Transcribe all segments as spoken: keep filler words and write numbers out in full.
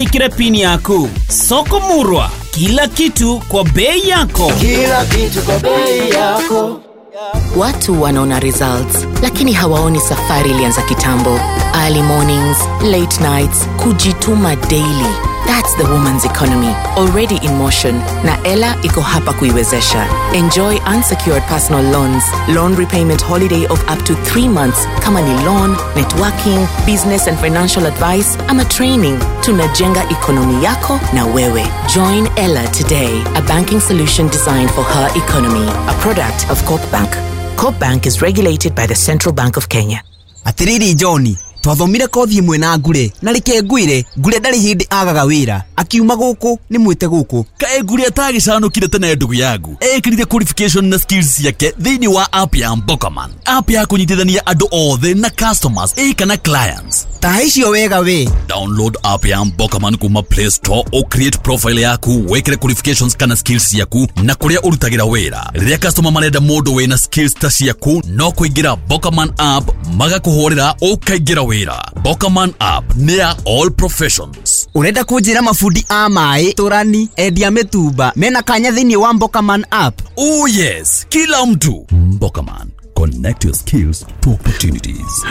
Ikira pini yaku. Soko Murwa, kila kitu kwa bei yako. Kila kitu kwa bei yako. Watu wanaona results, lakini hawaoni safari ilianza kitambo. Early mornings, late nights, kujituma daily. That's the woman's economy already in motion, na Ela iko hapa kuiwezesha. Enjoy unsecured personal loans, loan repayment holiday of up to three months kama ni loan, networking, business and financial advice ama training. Tunajenga ekonomi yako na wewe. Join Ela today, a banking solution designed for her economy, a product of Corp Bank. Corp Bank is regulated by the Central Bank of Kenya. Atiriri John, twathomire kothi imwe na ngure na reke ngwire ngure ndarĩ hĩndĩ agaga wĩra akiuma gũkũ nĩ mwĩte gũkũ. Kaĩ ngure atagĩcanũkire tene ndugu yangu ekĩrire qualification na skills ciake thĩinĩ wa app ya Mbokaman, app ya kũnyitithania andũ othe na customers ĩ kana clients. Ta icio wega we. Download app ya Mbokaman kuma Play Store o create profile yaku wekere qualifications kana skills ciaku na kũrĩa ũrutagĩra wĩra. Rĩrĩa customer marenda mũndũ wĩna skills ta ciaku no kũingĩra Mbokaman app magakũhũrĩra ũkaingĩra wĩra. Mbokaman app nĩ ya all professions. Ũrenda kũnjĩra mabundi a maĩ tũrani endia mĩtumba mena kanya thĩinĩ wa Mbokaman app? Oh yes, kila mtu. Mbokaman, connect your skills to opportunities.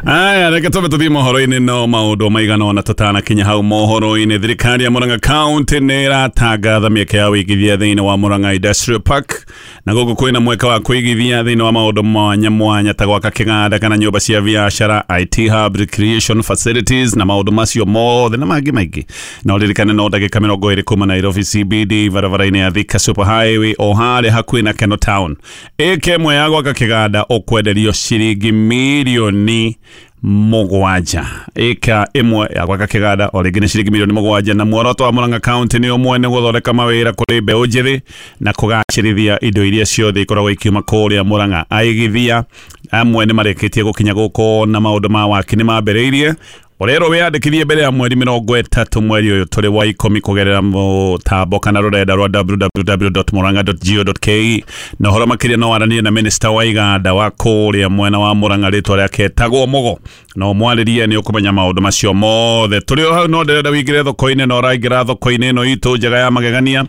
Aya, reke tũbe tũthiĩ mohoro-inĩ no maũndũ maigana ũna tũtanakinya hau mohoro-inĩ. Thirikari ya Murang'a County nĩ ĩratangatha mĩeke ya wĩigithia thĩinĩ wa Murang'a Industrial Park, na gũkũ kwĩna mweke wa kũigithia thĩinĩ wa maũndũ mwanya mwanya ta gwaka kĩganda kana nyũmba cia biacara, I T hub, recreation facilities na maũndũ macio mothe na mangĩ maingĩ. Na ũririkane no ndagĩka mĩrongo ĩrĩ kuma Nairobi C B D barabara-inĩ ya Thika Super Highway o harĩa hakuhĩ na Keno Town. Ĩka ĩmwe ya gwaka kĩganda ũkwenderio ciringi mirioni mũgwanja. Ĩka ĩmwe ya gwaka kĩganda o rĩngĩ nĩ ciringi mirioni mũgwanja, na muoroto wa Murang'a County nĩ ũmwe, nĩ gũthondeka mawĩra kũrĩ mbeũ njĩthĩ na kũgacĩrithia indo iria ciothe ikoragwo ikiuma kũrĩa Murang'a. Aigithia amwe nĩ marĩkĩtie gũkinya gũkũ na maũndũ ma waki nĩ mambĩrĩirie. Ũrerwo wĩyandĩkithie mbere ya mweri mĩrongo ĩtatũ mweri ũyũ tũrĩ wa ikũmi kũgerera mũtambo kana rũrenda rwa w w w dot murang'a dot go dot k e. Na ũhoro makĩria no waranĩrie na minista wa iganda wa kũrĩa mwena wa Murang'a rĩtwa rĩake etagwo Mũgo, na ũmwarĩrie nĩ ũkũmenya maũndũ macio mothe. Tũrĩ o hau no ndĩrenda wĩingĩre thoko-inĩ, na ũraingĩra thoko-inĩ ĩno itũ njega ya magegania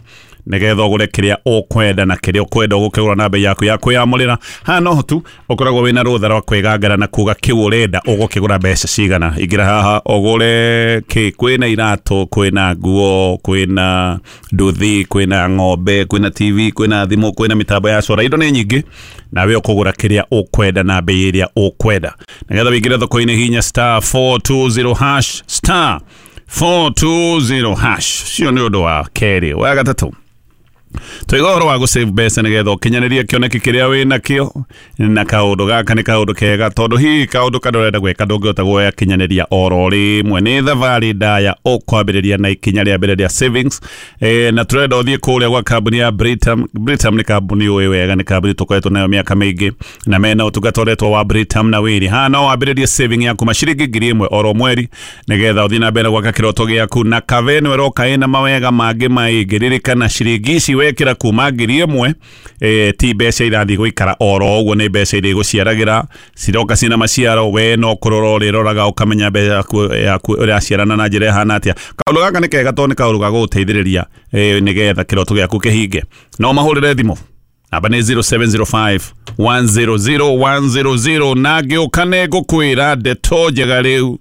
nĩgetha ũgũre kĩrĩa ũkwenda na kĩrĩa ũkwenda ũgũkĩgũra na bei yaku ya kwĩyamũrĩra. Haha no tu ũkoragwo wĩna rũtha rwa kwĩgangara na kuga kĩu ũrenda ũgũkĩgũra mbeca cigana. Ingĩra haha ũgũre kĩ, kwĩna iratũ, kwĩna nguo, kwĩna nduthi, kwĩna ng'ombe, kwĩna T V, kwĩna thimũ, kwĩna mĩtambo ya cora, indo nĩ nyingĩ, nawe ũkũgũra kĩrĩa ũkwenda na bei ĩrĩa ũkwenda. Nĩgetha wĩingĩre thoko-inĩ hinya star four two zero hash, star four two zero hash. Cio nĩ ũndũ wa kerĩ. Wa gatatũ, tũiga ũhoro wa gũsave mbeca nĩgetha ũkinyanĩrie kĩoneki kĩrĩa wĩnakĩo, na kaũndũ gaka nĩ kaũndũ kega tondũ hihi kaũndũ karĩa ũrenda gwĩka ndũngĩhota gũgakinyanĩria oro rĩmwe. Nĩ thabarĩ ndaya ũkwambĩrĩria na ikinya rĩa mbere rĩa savings. E, na tũrenda ũthiĩ kũrĩa gwa kambuni ya Britam. Britam nĩ kambuni ũĩ wega, nĩ kambuni tũkoretwo nayo mĩaka mĩingĩ na mena ũtungata ũretwo wa Britam na wĩri. Haha no wambĩrĩrie saving yaku maciringi ngiri ĩmwe oro mweri nĩgetha ũthiĩ na mbere gwaka kĩroto gĩaku, na kave ĩno ĩroka ĩna mawega mangĩ maingĩ. Ririkana ciringi ici wekĩra kuma ngiri ĩmwe eh, ti mbeca irathiĩ gũikara oro ũguo, nĩ mbeca iria igũciaragĩra ciroka cina maciaro. We no kũrora ũrĩroraga ũkamenya mbeca yaku yaku ũraciarana na njĩra ĩhana atĩa. Kaũndũ gaka nĩ kega tondũ nĩ kaũndũ ga gũgũteithĩrĩria eh, nĩgetha kĩroto gĩaku kĩhinge. No mahũrĩre thimũ namba nĩ zero seven zero five one zero zero one zero zero na ngĩũka nĩ ngũkwĩra ndeto njega rĩu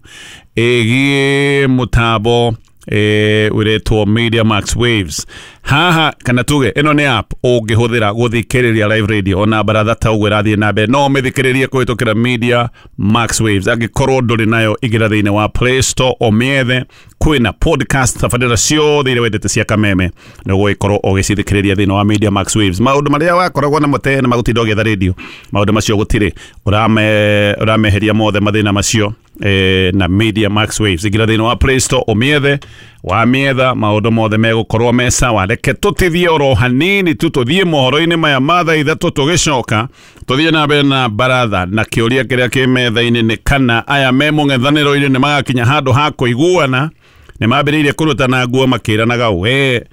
ĩgiĩ mũtambo eh uretwo Media Max Waves. Haha kana tuge ĩno nĩ app ũngĩhũthĩra gũthikĩrĩria live radio ona baratha ta ũguo ĩrathiĩ na mbere, no ũmĩthikĩrĩrie kũhĩtũkĩra Media Max Waves. Angĩkorwo ndũrĩ nayo, ingĩra thĩinĩ wa Play Store ũmĩethe. Kwĩna podcast tabarĩra ciothe iria wendete cia Kameme na ũgũgĩkorwo ũgĩcithikĩrĩria thĩinĩ wa Media Max Waves. Maũndũ marĩa wakoragwo namo tene magũtinda ũgĩetha radio, maũndũ macio gũtirĩ, ũrame ũrameheria mothe mathĩna macio eh, na Media Max Waves. Ingĩra thĩinĩ wa Play Store ũmĩethe, wamĩetha maũndũ mothe megũkorwo me sawa. Reke tũtithie oro hanini tu tũthiĩ mohoro-inĩ maya ma thaa ithatũ, tũgĩcoka tũthiĩ na mbere na baratha na kĩũria kĩrĩa kĩ metha-inĩ nĩ kana aya me mũng'ethanĩro-inĩ nĩ magakinya handũ ha kũiguana. Nĩ mambĩrĩirie kũrutana nguo makĩranaga we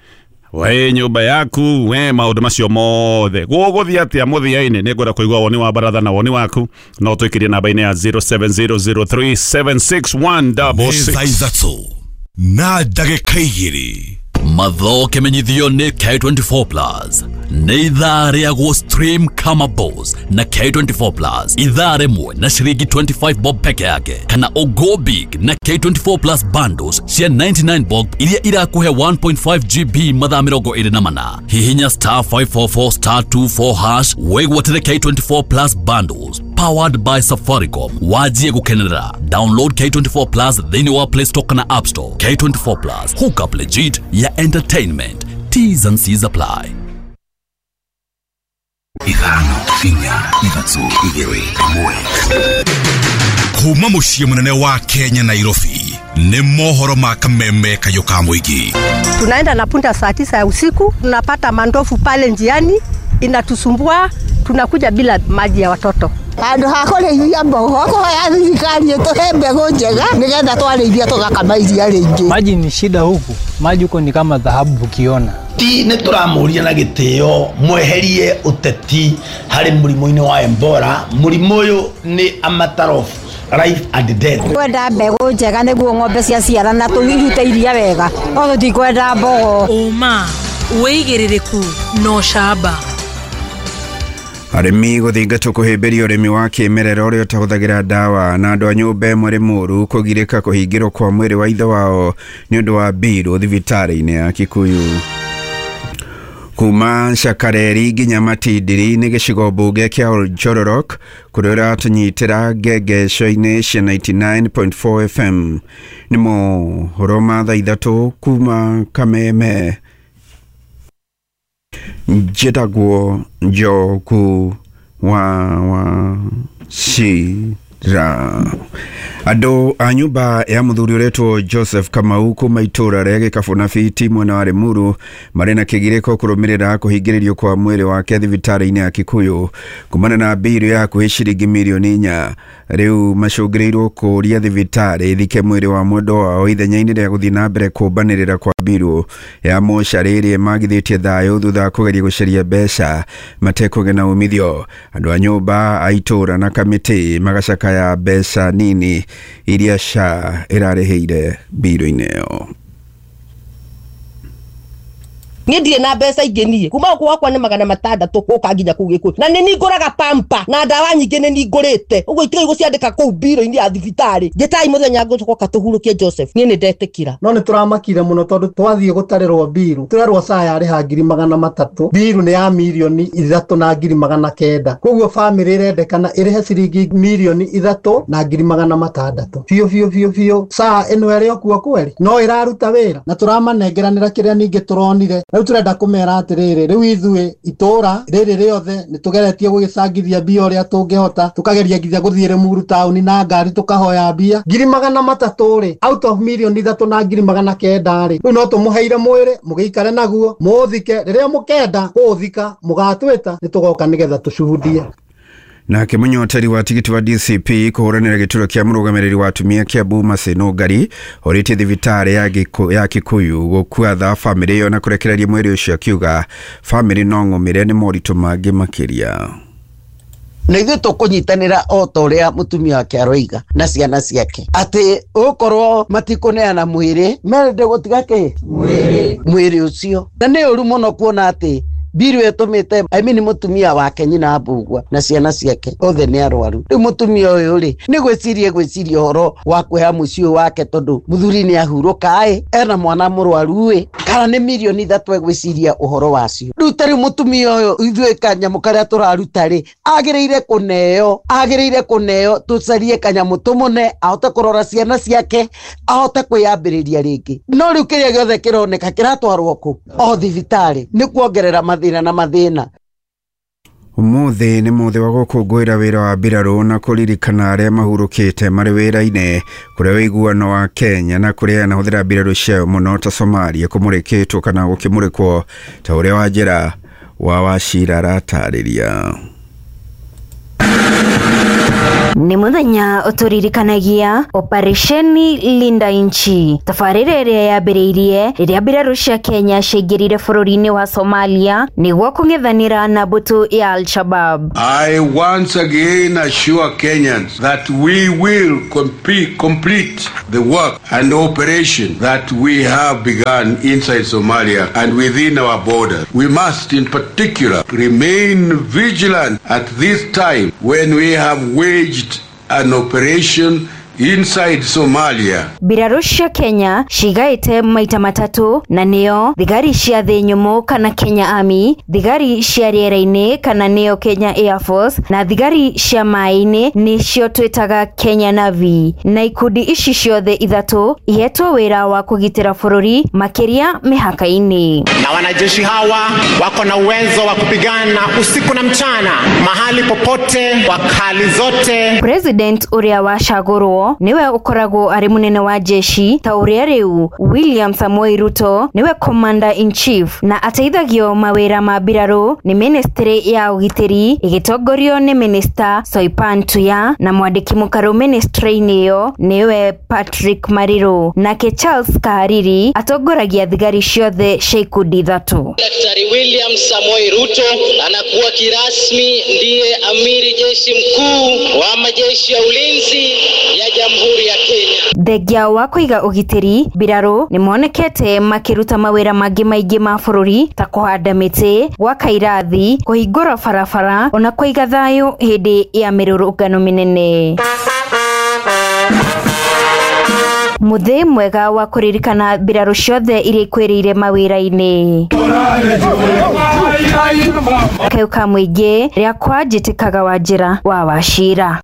we nyũmba yaku we maũndũ macio mothe. Gũgũthiĩ atĩa mũthia-inĩ? Nĩ ngwenda kũigua woni wa baratha na woni waku, no twĩkĩrie namba-inĩ ya zero seven zero zero three seven six one double six. Meza ithatũ. Na ndagĩka igĩrĩ. Mathoke menyithio nĩ K twenty-four Plus. Nĩ ithaa rĩa gũ stream kama boss na K twenty-four Plus. Ithaa rĩmwe na ciringi twenty-five bob peke yake kana o go big na K twenty-four Plus bundles cia ninety-nine bob iria irakuhe one point five G B mathaa mĩrongo ĩrĩ na mana. Hihinya star five four four star two four hash wĩgwatĩre K twenty-four Plus bundles powered by Safaricom. Wajie gukenerera. Download K twenty-four Plus thĩinĩ wa Play Store kana App Store. K twenty-four Plus, hook up legit ya entertainment. T's and C's apply. Ithano, inya, ithatũ, igĩrĩ, ĩmwe. Kuma mũciĩ mũnene wa Kenya Nairobi nĩ mohoro ma kameme kayũ ka mũingĩ. Tunaenda na punda saa tisa ya usiku, tunapata mandofu pale njiani inatusumbua, tunakuja bila maji ya watoto. Handũ ha kũrĩithia mbogo kũhoya thirikari ĩtũhe mbegũ njega nĩgetha twarĩithia tũgakama iria rĩingĩ. Maji ni shida huku, maji huko ni kama dhahabu ukiona. Ti nĩ tũramũria na gĩtĩo mweherie ũteti harĩ mũrimũ-inĩ wa Ebola. Mũrimũ ũyũ nĩ a matter of life and death. Kwenda mbegũ njega nĩguo ng'ombe ciaciarana tũrute iria wega, no tũtikwenda mbogo. Ũma, wĩigĩrĩrĩku na ũcamba. Arĩmi gũthingatwo kũhĩmbĩria ũrĩmi wa kĩmerera ũrĩa ũtahũthagĩra ndawa na andũ a nyũmba ĩmwe Rĩmũru kũgirĩka kũhingĩrwo kwa mwĩrĩ wa ithe wao nĩ ũndũ wa mbirũ thibitarĩ-inĩ ya Kikuyu. Kuma Shakareri nginya Matindiri nĩ gĩcigo mbunge kĩa Oljororok kũrĩa ũratũnyitĩra ngengeco-inĩ cia ninety-nine point four F M. Nĩ mohoro ma thaa ithatũ kuma Kameme. Njĩtagwo Njoku wa wa Shira. Andũ a nyũmba ya mũthuri ũretwo Joseph Kamau kuma itũra rĩa Gĩkabũ na Fiti mwena wa Rĩmuru marĩ na kĩgirĩko kũrũmĩrĩra kũhingĩrĩrio kwa mwĩrĩ wake thibitarĩ-inĩ ya Kikuyu kumana na mbirũ ya hakuhĩ ciringi mirioni inya. Rĩu macũngĩrĩirwo kũũria thibitarĩ ĩthike mwĩrĩ wa mwendwa wao ithenya-inĩ rĩa gũthiĩ na mbere kũmbanĩrĩra kwa mbirũ ya mocarĩ ĩrĩa ĩmagithĩtie thayũ thutha wa kũgeria gũcaria mbeca matekũgĩa na umithio. Andũ a nyũmba a itũra na kamĩtĩ magacakaya mbeca nini iria S H A ĩrarĩhĩire mbirũ-inĩ ĩyo. Niĩ ndirĩ na mbeca ingĩ niĩ kuma gũkũ gwakwa nĩ magana matandatũ gũka nginya kũu Gĩkũyũ na nĩ ningũraga pampa na ndawa nyingĩ nĩ ningũrĩte ũguo itigai gũciandĩka kũu mbirũ-inĩ ya thibitarĩ. Njĩtai mũthenya ngũcoka tũhurũkie Joseph, niĩ nĩ ndetĩkĩra. No nĩ tũramakire mũno tondũ twathiĩ gũtarĩrwo mbirũ tũrerwo S H A yarĩha ngiri magana matatũ, mbirũ nĩ ya mirioni ithatũ na ngiri magana kenda, koguo bamĩrĩ ĩrendekana ĩrĩhe ciringi mirioni ithatũ na ngiri magana matandatũ biũ biũ biũ biũ. S H A ĩno ĩrĩ o kuo kweri no ĩraruta wĩra na tũramanengeranĩra kĩrĩa ningĩ tũronire. Rĩu tũrenda kũmera atĩrĩrĩ, rĩu ithuĩ itũra rĩrĩ rĩothe nĩ tũgeretie gũgĩcangithia mbia ũrĩa tũngĩhota, tũkageria nginya gũthiĩ Rĩmuru taũni na ngari tũkahoya mbia ngiri magana matatũ rĩ out of mirioni ithatũ na ngiri magana kenda rĩ, rĩu no tũmũheire mwĩrĩ mũgĩikare naguo mũũthike, rĩrĩa mũkenda kũũthika mũgatwĩta nĩ tũgoka nĩgetha tũcuhudie. Nake mũnyoteri wa tigiti wa D C P kũhũranĩra gĩturwa kĩa mũrũgamĩrĩri wa atumia Kiambu Mercy Nũngari orĩtie thibitarĩ ya Gĩkũ- ya Kikuyu gũkua tha bamĩrĩ ĩyo na kũrekereria mwĩrĩ ũcio akiuga bamĩrĩ no ng'ũmĩre nĩ moritũ mangĩ makĩria. Na ithuĩ tũkũnyitanĩra o ta ũrĩa mũtumia wake aroiga na ciana ciake atĩ ũkorwo matikũneana mwĩrĩ merende gũtiga kĩ mwĩrĩ ũcio, na nĩ ũru mũno kuona atĩ mbiru ĩtũmĩte I mean mũtumia wake nyina Mbugua na ciana ciake othe nĩ arwaru. Rĩu mũtumia ũyũ rĩ nĩ gwĩciria gwĩciria ũhoro wa kwĩha mũciĩ ũyũ wake tondũ mũthuri nĩ ahurũka ĩ ena mwana mũrwaru ĩ kana nĩ mirioni ithatũ egwĩciria ũhoro wacio. Rĩu ta rĩu mũtumia ũyũ ithuĩ kanyamũ karĩa tũraruta rĩ agĩrĩire kũneo agĩrĩire kũneo tũcarie kanyamũ tũmũne ahote kũrora ciana ciake ahote kwĩyambĩrĩria rĩngĩ. No rĩu kĩrĩa gĩothe kĩroneka kĩratwarwo kũ o thibitarĩ nĩ kuongerera mathĩna na mathĩna. Ũmũthĩ nĩ mũthĩ wa gũkũngũĩra wĩra wa mbirarũ na kũririkana arĩa mahurũkĩte marĩ wĩra-inĩ kũrĩa ũiguano wa Kenya na kũrĩa yanahũthĩra mbirarũ ciayo mũno ta Somalia kũmũrĩkĩtwo kana gũkĩmũrĩkwo ta ũrĩa Wanjĩra wa Wachira aratarĩria. Nĩ mũthenya ũtũririkanagia Operesheni Linda Nchi, tabarĩra ĩrĩa yambĩrĩirie rĩrĩa mbirarũ cia Kenya ciaingĩrire bũrũri-inĩ wa Somalia nĩguo kũng'ethanĩra na mbũtũ ya Al-Shabaab. I once again assure Kenyans that we will complete, complete the work and operation that we have begun inside Somalia and within our borders. We must in particular remain vigilant at this time when we have waged an operation inside Somalia. Mbirarũ cia Kenya cigaĩte maita matatũ na nĩo thigari cia thĩ nyũmũ kana Kenya Army, thigari cia rĩera-inĩ kana nĩo Kenya Air Force na thigari cia maĩ-inĩ nĩcio twĩtaga Kenya Navy. Na ikundi ici ciothe ithatũ ihetwo wĩra wa kũgitĩra bũrũri makĩria mĩhaka-inĩ. Na wanajeshi hawa wako na uwezo wa kupigana usiku na mchana, mahali popote, kwa hali zote. President ũrĩa wacagũrwo niwe ukoragwo ari munene wa jeshi ta uria riu William Samoei Ruto niwe commander in chief na ateithagio mawira ma mbirarũ ni ministry ya ugitiri igitongorio ni minister Soipan Tuya na mwandiki mukaru ministry-inĩ ĩyo niwe Patrick Mariru, nake Charles Kahariri atongoragia thigari ciothe cia ikundi ithatũ. Daktari William Samoei Ruto anakuwa kirasmi ndiye amiri jeshi mkuu wa majeshi ya ulinzi ya Jamhuri ya Kenya. Thengia wa kũiga ũgitĩri, mbirarũ nĩmonekete makĩruta mawĩra mangĩ maingĩ ma bũrũri ta kũhanda mĩtĩ, gwaka irathi, kũhingũra barabara ona kũiga thayũ hĩndĩ ya mĩrũrũngano mĩnene. Mũthĩ mwega wa kũririkana mbirarũ ciothe iria ikwĩrĩire mawĩra-inĩ. Kayũ ka mũingĩ rĩakwa njĩtĩkaga Wanjĩra wa Wachira.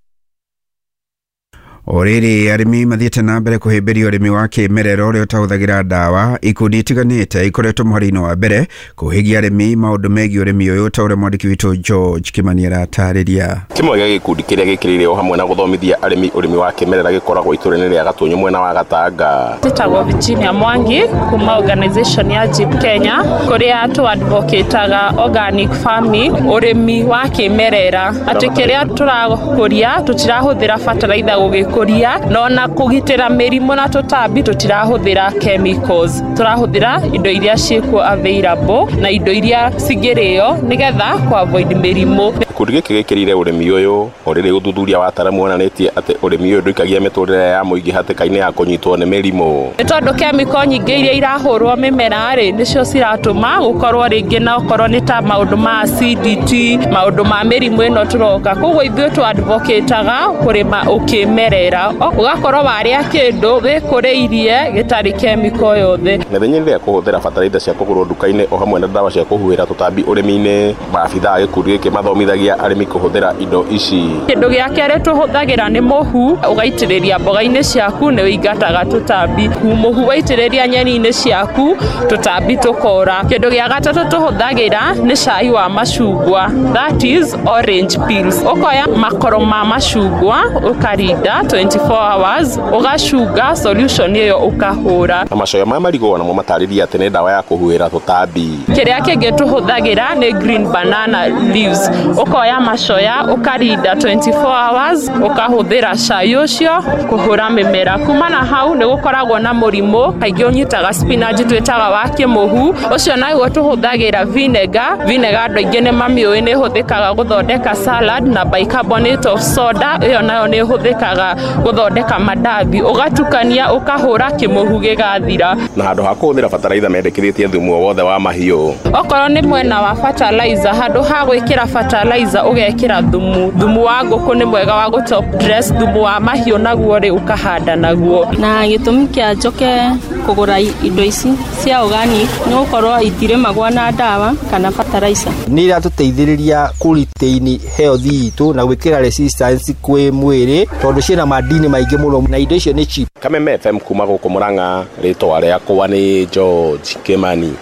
O rĩrĩ arĩmi mathiĩte na mbere kũhĩmbĩria ũrĩmi wa kĩmerera ũrĩa ũtahũthagĩra ndawa. Ikundi itiganĩte ikoretwo mũhari-inĩ wa mbere kũhĩgia arĩmi maũndũ megiĩ ũrĩmi ũyũ ta ũrĩa mwandĩki witũ George Kimani aratarĩria. Kĩmwe gĩa gĩkundi kĩrĩa gĩkĩrĩire o hamwe na gũthomithia arĩmi ũrĩmi wa kĩmerera gĩkoragwo itũũra-inĩ rĩa Gatũnyũ mwena wa Gatanga. Njĩtagwo Virginia Mwangi kuma organization ya Jeep Kenya kũrĩa tũ advocataga organic farming, ũrĩmi wa kĩmerera, atĩ kĩrĩa tũrakũria tũtirahũthĩra fertilizer gũgĩ kuria no na kugitira mĩrimũ na tũtambi tũtirahũthĩra chemicals, tũrahũthĩra indo iria ciĩkuo available na indo iria cingĩrĩo nĩgetha ku avoid mĩrimũ. Gĩkundi gĩkĩ gĩkĩrĩire ũrĩmi ũyũ o rĩrĩ ũthuthuria wa ataaramu wonanĩtie atĩ ũrĩmi ũyũ ndũikagia mĩtũrĩre ya mũingĩ hatĩka-inĩ ya kũnyitwo nĩ mĩrimũ. Nĩ tondũ chemical nyingĩ iria irahũrwo mĩmera rĩ nĩcio ciratũma gũkorwo rĩngĩ na okorwo nĩ ta maũndũ ma acidity, maũndũ ma mĩrimũ ĩno tũroka. Koguo ithuĩ tũ advocataga kũrĩma ũkĩmerera, ũgakorwo warĩa kĩndũ wĩkũrĩirie gĩtarĩ chemical yothe. Mĩthenya ĩrĩa kũhũthĩra bataraitha cia kũgũrwo nduka-inĩ o hamwe na ndawa cia kũhuhĩra tũtambi ũrĩmi-inĩ, maabithaa a gĩkundi gĩkĩ mathomithagia arĩmi kũhũthĩra indo ici. Kĩndũ gĩa kerĩ tũhũthagĩra nĩ mũhu, ũgaitĩrĩria mboga-inĩ ciaku nĩ ũingataga tũtambi. Mũhu waitĩrĩria nyeni-inĩ ciaku tũtambi tũkora. Kĩndũ gĩa gatatũ tũhũthagĩra nĩ cai wa macungwa, that is orange peels. Ũkoya makoro ma macungwa ũkarinda twenty-four hours, ũgacunga solution ĩyo ũkahũra. Na macoya ma marigũ onamo matarĩria atĩ nĩ ndawa ya kũhuhĩra tũtambi. Kĩrĩa kĩngĩ tũhũthagĩra nĩ green banana leaves. Ũkoya macoya ũkarinda twenty-four hours, ũkahũthĩra cai ũcio kũhũra mĩmera. Kuma na hau nĩ gũkoragwo na mũrimũ kaingĩ ũnyitaga spinach twĩtaga wa kĩmũhu, ũcio naguo tũhũthagĩra vinegar. Vinegar andũ aingĩ nĩ mamĩũĩ nĩ ĩhũthĩkaga gũthondeka salad, na bicarbonate of soda ĩyo nayo nĩ ĩhũthĩkaga gũthondeka mandathi. Ũgatukania ũkahũra kĩmũhu gĩgathira. Na handũ ha kũhũthĩra bataraitha mendekithĩtie thumu o wothe wa mahiũ. Okorwo nĩ mwena wa fertilizer, handũ ha gwĩkĩra fertilizer ũgekĩra thumu. Thumu wa ngũkũ nĩ mwega wa gũ top dress, thumu wa mahiũ naguo rĩ ũkahanda naguo. Na gĩtũmi kĩa njoke kũgũra indo ici cia organic nĩ gũkorwo itirĩmagwo na ndawa kana fertilizer. Nĩ iratũteithĩrĩria kũ retain health itũ na gwĩkĩra resistance kwĩ mwĩrĩ tondũ ciĩna madini maingĩ mũno na indo icio nĩ cheap. Kameme F M kuma gũkũ Murang'a, rĩtwa rĩakwa nĩ George Kimani.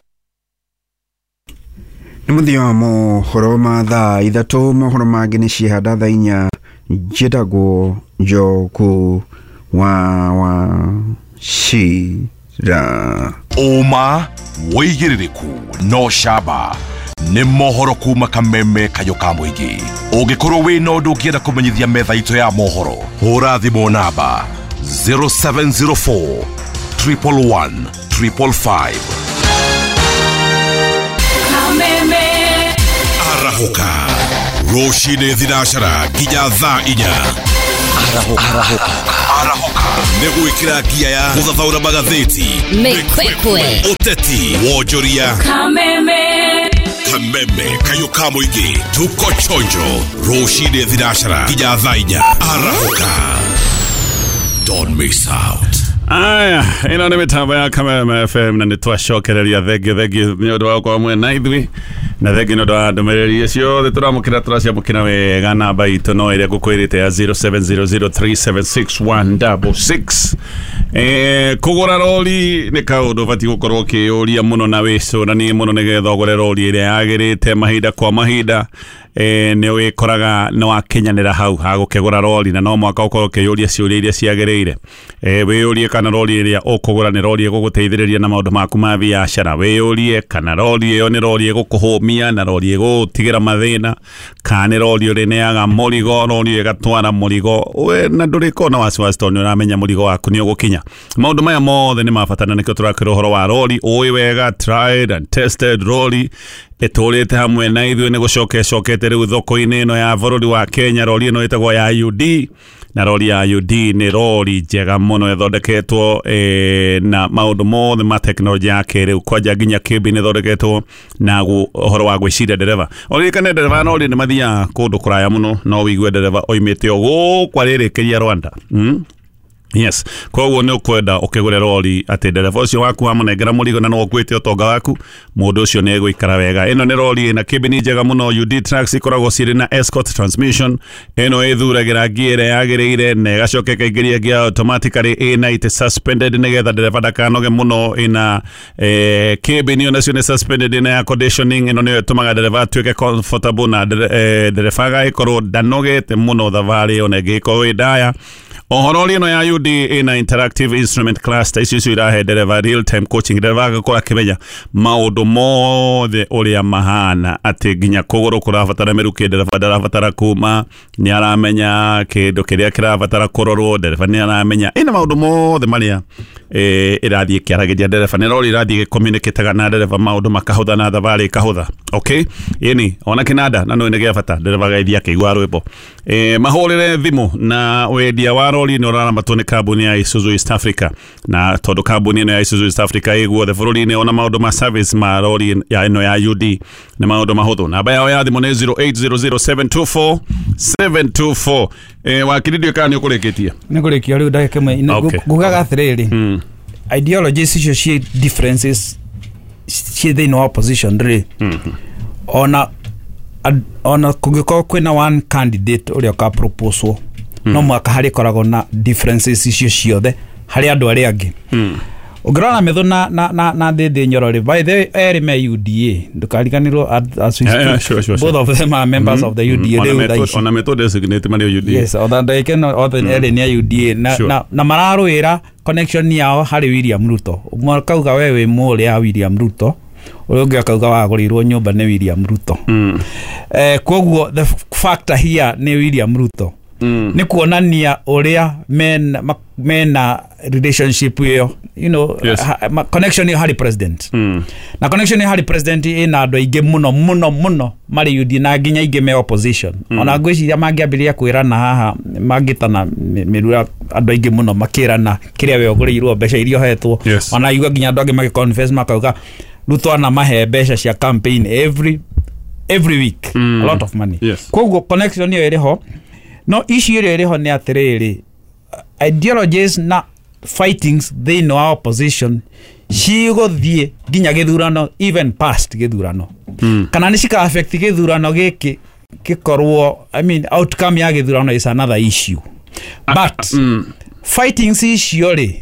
Nĩ mũthia wa mohoro ma thaa ithatũ. Mohoro mangĩ nĩ ciehanda thaa inya. Njĩtagwo Njoku wa Wachira. Ũma wĩigĩrĩrĩku no camba Nĩ mohoro kuma Kameme Kayũ ka Mũingĩ. Ũngĩkorwo wĩna ũndũ ũngĩenda kũmenyithia metha itũ ya mohoro, hũra thimũ namba zero seven zero four triple one triple five. Kameme Arahũka rũcinĩ thinacara nginya thaa inya. Arahũka. Arahũka nĩ gwĩkĩra ngia ya gũthathaũra magathĩti, Mĩkwekwe, ũteti, wonjoria. Kameme Kameme Kayũ ka Mũingĩ, tuko chonjo rũcinĩ thinacara nginya thaa inya. Arahũka, don't miss out. Aya, ĩno nĩ mĩtambo ya Kameme F M na nĩ twacokereria thengio thengio nĩ ũndũ wa gũkorwo mwena ithuĩ na thengio nĩ ũndũ wa ndũmĩrĩri ciothe tũramũkĩra tũraciamũkĩra wega. Namba itũ no ĩrĩa ngũkwĩrĩte ya zero seven zero zero three seven six one double six. Eh, kũgũra rori nĩ kaũndũ ũbatiĩ gũkorwo ũkĩyũria mũno na wĩcũranie mũno nĩgetha ũgũre rori ĩrĩa yagĩrĩte mahinda kwa mahinda. Eh, nĩ wĩkoraga nĩ wakinyanĩra hau hagũkĩgũra rori na no mwaka ũkorwo ũkĩyũria ciũria iria ciagĩrĩire. Eh, wĩyũrie kana rori ĩrĩa ũkũgũra nĩ rori ĩgũgũteithĩrĩria na maũndũ maku ma biacara. Wĩyũrie kana rori ĩyo nĩ rori ĩgũkũhũmia na rori ĩgũgũtigĩra mathĩna, kana nĩ rori ũrĩneaga mũrigo, rori ĩgatwara mũrigo we na ndũrĩkorwo na wasiwasi tondũ nĩ ũramenya mũrigo waku nĩ ũgũkinya. Maũndũ maya mothe nĩ ma bata na nĩkĩo tũrakĩra ũhoro wa rori ũĩ wega, tried and tested rori ĩtũrĩte hamwe na ithuĩ nĩ gũcoka ĩcokete rĩu thoko-inĩ ĩno ya bũrũri wa Kenya. Rori ĩno ĩtagwo ya U D na rori ya U D nĩ rori njega mũno ĩthondeketwo eh, na maũndũ mothe ma tekinoronjĩ ya kĩrĩu, kwanja nginya kĩmbi nĩ ĩthondeketwo na ũhoro wa gwĩciria ndereba. Ũririkane ndereba no nĩ mathiaga kũndũ kũraya mũno, no wĩigue ndereba oimĩte o gũkũ arĩrĩkĩria Rwanda. Mm? Yes, koguo nĩ ũkwenda ũkĩgũre rori atĩ ndereba ũcio waku wamũnengera mũrigo na no ũkuĩte ũtonga waku, mũndũ ũcio nĩ egũikara wega. Ĩno nĩ rori ĩna kĩmbini njega mũno. U D Trucks ikoragwo cirĩ na Escort transmission. Ĩno ĩthuragĩra ngia ĩrĩa yagĩrĩire na ĩgacoka ĩkaingĩria ngia automatically ĩna ĩtĩ suspended nĩgetha ndereba ndakanoge mũno. Ĩna eh, kĩmbini onacio nĩ suspended, ĩna air conditioning. Ĩno nĩyo ĩtũmaga ndereba atuĩke comfortable na ndereba agagĩkorwo ndanogete mũno thabarĩ ona ĩngĩgĩkorwo ĩ ndaya. Ohoro ĩno ya U D ĩna interactive instrument cluster, icio icio irahe ndereba real time coaching, ndereba agakorwo akĩmenya maũndũ mothe ũrĩa mahana, atĩ nginya kũgũrũ kũrabatara mĩrukĩ ndereba ndarabatara kuma, nĩ aramenya kĩndũ kĩrĩa kĩrabatara kũrorwo, ndereba nĩ aramenya ĩna maũndũ mothe marĩa eh, ĩrathiĩ ĩkĩaragĩria ndereba. Nĩ rori ĩrathiĩ ĩgĩcommunicataga na ndereba, maũndũ makahũtha na thabarĩ ĩkahũtha. Okay, ĩni ona kĩnanda na no nĩ gĩa bata, ndereba agaithia akĩigua rwĩmbo. Eh, mahũrĩre thimũ na wendia wa rori nĩ ũraramatwo nĩ kambuni ya Isuzu East Africa, na tondũ kambuni ĩno ya Isuzu East Africa ĩ guothe bũrũri-inĩ, ona maũndũ ma service ma rori ya ĩno ya U D nĩ maũndũ mahũthũ. Namba yao ya thimũ nĩ zero eight zero zero seven two four seven two four. Eh, wakiri ndiũĩ kana nĩ ũkũrĩkĩtie? Nĩ ngũrĩkia rĩu ndagĩka ĩmwe. Ngugaga atĩrĩrĩ, ideologies icio ciĩ differences ciĩ thĩinĩ wa opposition rĩ, ona ona kũngĩkorwo kwĩna one candidate ũrĩa ũkaproposwo, no mwaka harĩ koragwo na differences icio ciothe harĩ andũ arĩa angĩ. Ũngĩrora Methu na na na na Ndindi Nyoro rĩ, by the way erĩ me U D A, ndũkariganĩrwo as we speak, sure, sure, both of them are members of the U D A rĩu thaa ici. Ona Methu designate marĩ U D A. Yes, ona ndagĩka ĩno othe erĩ nĩ a U D A na na, na mararũĩra connection yao harĩ William Ruto. Ũmwe akauga we wĩ mũrĩ ya William Ruto, ũrĩa ũngĩ akauga wagũrĩirwo nyũmba nĩ William Ruto. Eh, koguo the factor here nĩ William Ruto. Mm. Nĩ kuonania ũrĩa mena, mena relationship ĩyo, you know, yes. ha, ma, connection ĩyo harĩ president. Mm. Na connection ĩyo harĩ president ĩna andũ aingĩ mũno mũno mũno marĩ U D na nginya aingĩ me opposition. Mm. Ona ngwĩciria mangĩambĩrĩria kwĩrana haha mangĩtana mĩrura andũ aingĩ mũno makĩrana kĩrĩa we ũgũrĩirwo mbeca iria ũhetwo. Yes. Ona igua nginya andũ angĩ magĩconfess makauga Ruto anamahe mbeca cia campaign every every week. Mm. A lot of money. Yes. Koguo connection ĩyo ĩrĩ ho. No issue ĩrĩa ĩrĩ ho nĩ atĩrĩrĩ, ideologies na fightings thĩinĩ wa opposition cigũthiĩ nginya gĩthurano, even past gĩthurano. Mm. Kana nĩ cika affect gĩthurano gĩkĩ gĩkorwo, I mean outcome ya gĩthurano is another issue. But mm. fightings icio rĩ,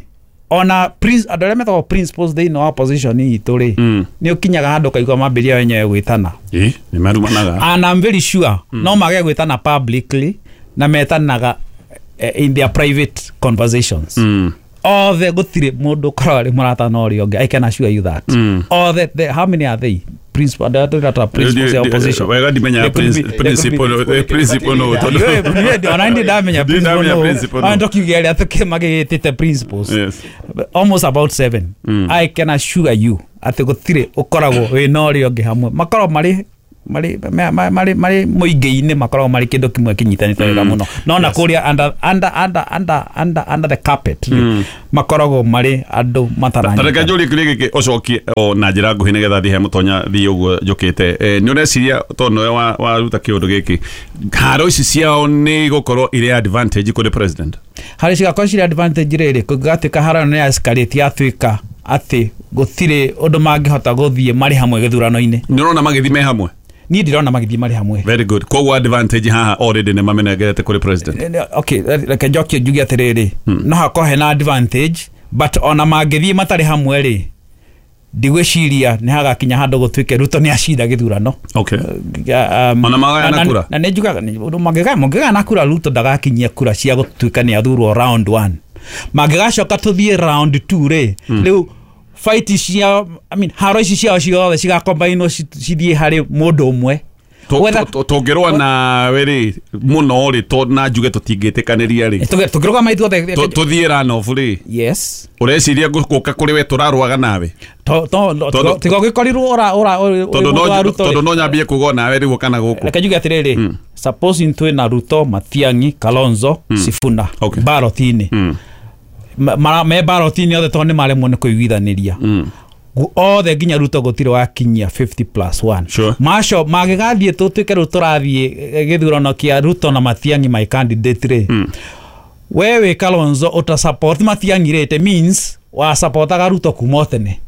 ona prince andũ arĩa metagwo principles thĩinĩ wa opposition itũ rĩ, mm. nĩ ũkinyaga handũ ũkaigua mambĩrĩria wenyewe gwĩtana. Ĩ, nĩ marumanaga. And I'm very sure mm. no mage gwĩtana publicly na metanaga in their private conversations. Mm. Othe gũtirĩ mũndũ ũkoragwo arĩ mũrata na ũrĩa ũngĩ. I can assure you that. Mm. Othe, the, how many are they? principle andũ arĩa tũreta principles ya opposition. Wega ndimenya principle principle no tondu ona ndi ndamenya principle no ndo kiuge aria tukimagitite principles. Yes. Almost about seven. Mm. I can assure you ati gutire ukoragwo wina uria ungi hamwe makoragwo mari mari mari mari muingi-ini makoragwo mari kindu kimwe kinyitanite wega muno no na kuria under under under under under under the carpet mm. makoragwo mari andu mataranyita. Tareke njũrie kĩũria gĩkĩ ũcokie o na njĩra nguhĩ nĩgetha thiĩ he mũtonya thiĩ ũguo njũkĩte. Nĩ ũreciria tondũ nĩwe waruta kĩũndũ gĩkĩ, haro ici ciao nĩ igũkorwo irĩ advantage kũrĩ president? Harĩ cigakorwo cirĩ advantage rĩrĩ kũngĩgatuĩka haro nĩ escalate yatuĩka atĩ gũtirĩ ũndũ mangĩhota gũthiĩ marĩ hamwe gĩthurano-inĩ. Nĩ ũrona magĩthiĩ me hamwe? Niĩ ndirona magĩthiĩ marĩ hamwe. Very good. Koguo advantage haha already nĩ mamenengerete kũrĩ president. Okay, reke njokie njuge atĩrĩrĩ, no hakorwo hena advantage but ona mangĩthiĩ matarĩ hamwe rĩ, ndigwĩciria nĩ hagakinya handũ gũtuĩke Ruto nĩ acinda gĩthurano. Okay. Um, ona magayana kura. Na nĩ njugaga mangĩgayana kura Ruto ndagakinyia kura cia gũtuĩka nĩ athurwo round one. Mangĩgacoka tũthiĩ round two rĩ, rĩu fight cia I mean haro ici ciao ciothe cigakombainwo cithiĩ harĩ mũndũ ũmwe. Tũngĩrũa nawe rĩ mũno rĩ, to na njuge tũtingĩtĩkanĩria rĩ, tũngĩrũgama ithuothe tũthiĩ runoff rĩ, yes, ũreciria gũka kũrĩ we tũrarũaga nawe tiga ũgĩkorirwo tondũ no nyambie kuga nawe rĩu kana gũkũ. Reke njuge atĩrĩrĩ, supposing twĩna Ruto, Matiang'i, Kalonzo, Sifuna ballot-inĩ, me ballot-inĩ othe tondũ nĩ maremwo nĩ kũiguithanĩria othe nginya Ruto gũtirĩ wakinyia fifty plus one. Sure. Maco magĩgathiĩ tũtuĩke rĩu tũrathiĩ gĩthurano kĩa Ruto na Matiang'i my candidate rĩ, mm. we wĩ Kalonzo ũta support Matiang'i rĩ, it means wa supportaga Ruto kuma tene.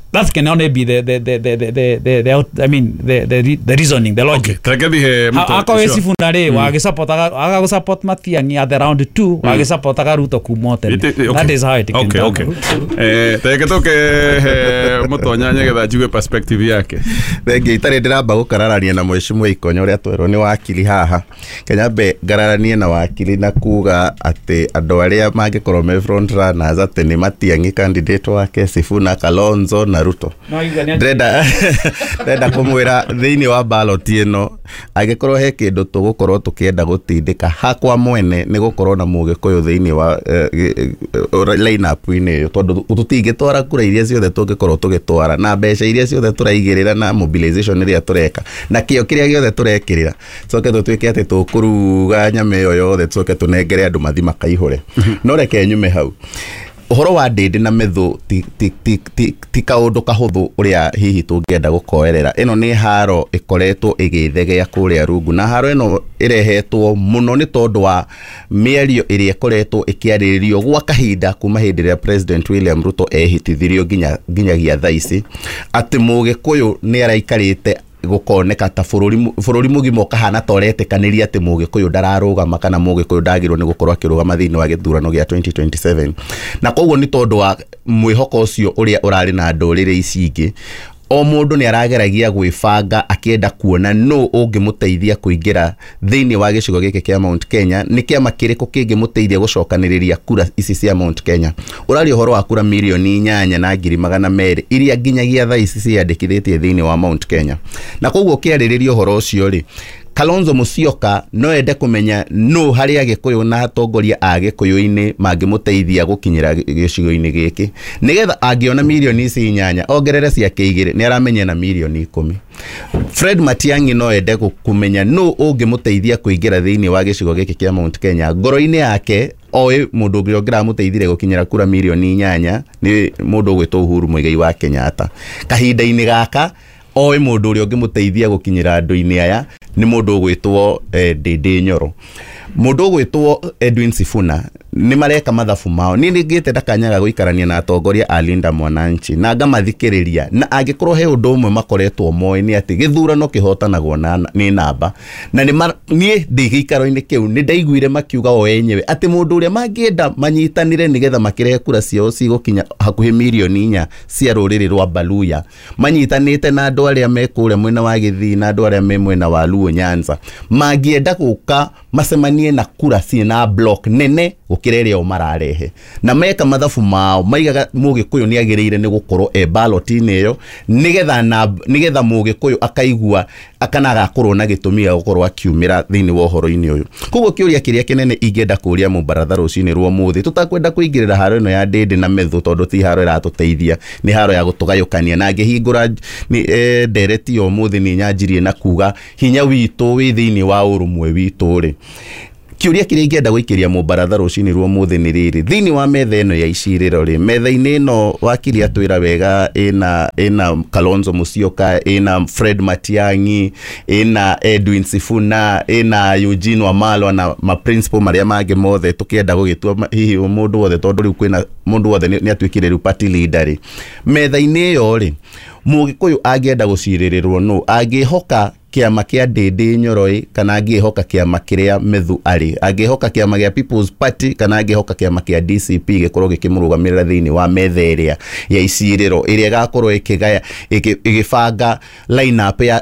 That can only be the the the the the the, the out, I mean the the the reasoning, the logic. Okay. Trekethihe muto. Ako Sifuna rĩ wagĩsupportaga agagũsupport Matiang'i at the round two, wagĩsupportaga Ruto kuma tene. That is how it can. Okay, okay. Eh treke toke mutonya nyegetha njigue perspective yake. Thengi itarĩ ndĩramba gũkararania na mheshimiwa Ikonyo ũrĩa twerwo nĩ wakili haha. Kenyambe ngararanie na wakili na kuga atĩ andũ arĩa mangĩkorwo me front runners atĩ nĩ Matiang'i candidate wake, Sifuna, Kalonzo na Ruto. Ndĩrenda ndĩrenda kũmwĩra thĩinĩ wa ballot ĩno angĩkorwo he kĩndũ tũgũkorwo tũkĩenda gũtindĩka hakwa mwene nĩ gũkorwo na mũgĩkũyũ thĩinĩ wa line up-inĩ ĩyo, tondũ tũtingĩtwara kura iria ciothe tũngĩkorwo tũgĩtwara na mbeca iria ciothe tũraigĩrĩra na mobilization ĩrĩa tũreka na kĩo kĩrĩa gĩothe tũrekĩrĩra, tũcoke tũtuĩke atĩ tũkũruga nyama ĩyo yothe tũcoke tũnengere andũ mathi makaihũre. No reke nyume hau. Ũhoro wa Ndĩndĩ na Methu ti ti ti ti ti kaũndũ kahũthũ ũrĩa hihi tũngĩenda gũkoerera. Ĩno nĩ haro ĩkoretwo ĩgĩthegea kũrĩa rungu, na haro ĩno ĩrehetwo mũno nĩ tondũ wa mĩario ĩrĩa ĩkoretwo ĩkĩarĩrĩrio gwa kahinda kuma hĩndĩ ĩrĩa President William Ruto ehĩtithirio nginya nginyagia thaa ici atĩ mũgĩkũyũ nĩ araikarĩte gukoneka ta bururi bururi mugima ukahana ta uretĩkanĩria atĩ mũgĩkũyũ ndararũgama kana mũgĩkũyũ ndagĩrĩirwo nĩ gũkorwo akĩrũgama thĩinĩ wa gĩthurano gĩa twenty twenty-seven. Na koguo nĩ tondũ wa mwĩhoko ũcio ũrĩa ũrarĩ na ndũrĩrĩ ici ingĩ, o mũndũ nĩ arageragia gwĩbanga akĩenda kuona nũ ũngĩmũteithia kũingĩra thĩinĩ wa gĩcigo gĩkĩ kĩa Mount Kenya, nĩ kĩama kĩrĩkũ kĩngĩmũteithia gũcokanĩrĩria kura ici cia Mount Kenya. Ũraria ũhoro wa kura mirioni inyanya na ngiri magana merĩ iria nginyagia thaa ici ciandĩkithĩtie thĩinĩ wa Mount Kenya. Na koguo ũkĩarĩrĩria ũhoro ũcio rĩ, Kalonzo Musyoka no ende kũmenya nũ harĩ Agĩkũyũ na atongoria a Gĩkũyũ-inĩ mangĩmũteithia gũkinyĩra gĩcigo-inĩ gĩkĩ, nĩgetha angĩona mirioni ici inyanya ongerere ciake igĩrĩ nĩ aramenya na mirioni ikũmi. Fred Matiang'i no ende kũmenya nũ ũngĩmũteithia kũingĩra thĩinĩ wa gĩcigo gĩkĩ kĩa Mount Kenya. Ngoro-inĩ yake oĩ mũndũ ũngĩ ũngĩramũteithire gũkinyĩra kura mirioni inyanya nĩ mũndũ ũgwĩtwo Uhuru Muigai wa Kenyatta. Kahinda-inĩ gaka oĩ mũndũ ũrĩa ũngĩmũteithia gũkinyĩra andũ-inĩ aya nĩ mũndũ ũgwĩtwo Ndĩndĩ Nyoro. Mũndũ ũgwĩtwo Edwin Sifuna nĩ mareka mathabu mao. Niĩ nĩngĩte ndakanyaga gũikarania na atongoria a Linda Mwananchi na ngamathikĩrĩria, na angĩkorwo he ũndũ ũmwe makoretwo moĩ nĩ atĩ gĩthurano kĩhotanagwo na nĩ namba. Na niĩ ndĩ gĩikaro-inĩ kĩu nĩ ndaiguire makiuga o enyewe atĩ mũndũ ũrĩa mangĩenda manyitanĩre nĩgetha makĩrehe kura ciao cigũkinya hakuhĩ mirioni inya cia rũrĩrĩ rwa Baluya, manyitanĩte na andũ arĩa me kũrĩa mwena wa Gĩthii na andũ arĩa me mwena wa Luo Nyanza, mangĩenda gũka macemanie na kura ciĩna block nene Gũkĩra ĩrĩa o mararehe na meka mathabu mao maigaga Mũgĩkũyũ nĩ agĩrĩire nĩ gũkorwo e ballot-inĩ ĩyo, nĩgetha na nĩgetha Mũgĩkũyũ akaigua akana agakorwo na gĩtũmi gĩa gũkorwo akiumĩra thĩinĩ wa ũhoro-inĩ ũyũ. Koguo kĩũria kĩrĩa kĩnene ingĩenda kũria mũbaratha rũcinĩ rwa ũmũthĩ, tũtakwenda kũingĩrĩra haro ĩno ya Ndĩndĩ na Methu, tondũ ti haro ĩratũteithia, nĩ haro ya gũtũgayũkania. Na ngĩhingũra nĩ eh, ndereti ya ũmũthĩ nĩ nyanjirie na kuga hinya witũ wĩ thĩinĩ wa ũrũmwe witũ rĩ, kĩũria kĩrĩa ingĩenda gũikĩria mũbaratha rũcinĩ rwa ũmũthĩ nĩ rĩrĩ: thĩinĩ wa metha ĩno ya icirĩro rĩ, metha-inĩ ĩno wakiri atwĩra wega ĩna ĩna Kalonzo Musyoka, ĩna Fred Matiang'i, ĩna Edwin Sifuna, ĩna Eugene Wamalwa na ma principal marĩa mangĩ mothe tũkĩenda gũgĩtua ma- hihi mũndũ wothe, tondũ rĩu kwĩna mũndũ wothe nĩ nĩ atuĩkire rĩu party leader rĩ, metha-inĩ ĩyo rĩ, Mũgĩkũyũ angĩenda gũcirĩrĩrwo nũ? Angĩhoka kĩama kĩa Ndĩndĩ Nyoro kana angĩhoka kĩama kĩrĩa Methu arĩ, angĩhoka kĩama gĩa People's Party kana angĩhoka kĩama kĩa D C P gĩkorwo gĩkĩmũrũgamĩrĩra thĩinĩ wa metha ĩrĩa ya icirĩro ĩrĩa ĩgakorwo ĩkĩgaya ĩkĩ- ĩgĩbanga line up ya